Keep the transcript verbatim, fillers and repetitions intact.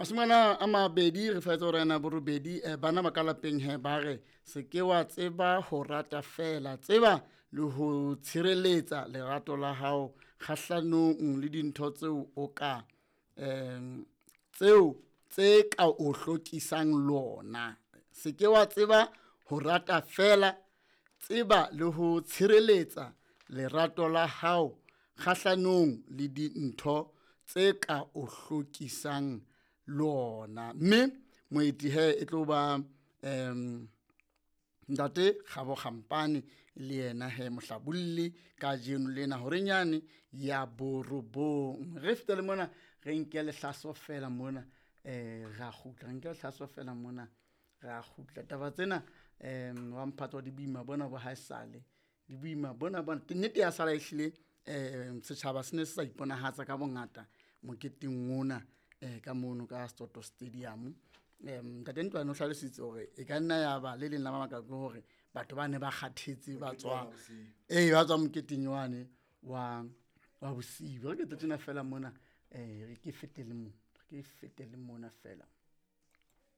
Mashome a mabedi re fetsa hore na borobedi eh, bana ba ka lapeng he ba re se ke wa tseba ho rata fela, tseba le ho tshireletsa lerato la hao kgahlanong le dintho tseo o ka em tseo tse ka o hlokisang lona. Se ke wa tseba ho rata fela, tseba le ho tshireletsa lerato la hao kgahlanong le dintho tse ka o hlokisang lona. Mme moeti he e tlo ba em ntate Kgabo Kgampane le yena he mohlabolli kajeno lena horenyane ya borobong. Re fetele mona re nke lehlaso fela mona, eh ra kgutla, re nke lehlaso fela mona ra kgutla. Taba tsena em wa mphato di boima bona bo haesale, di boima bona bona. Nnete ya sala ehlile um setjhaba se ne se sa iponahatsa ka bongata moketeng ona eh ka mono ka Soto Stadium. Em Ntate Ntlwane o hlalositse hore e ka nna ya ba le leng la mabaka ke hore batho ba ne ba kgathetse ba tswa, ee ba tswa moketeng wane wa wa bosiu. Re ke tjena fela mona, eh re ke fetele mona, re ke fetele mona fela.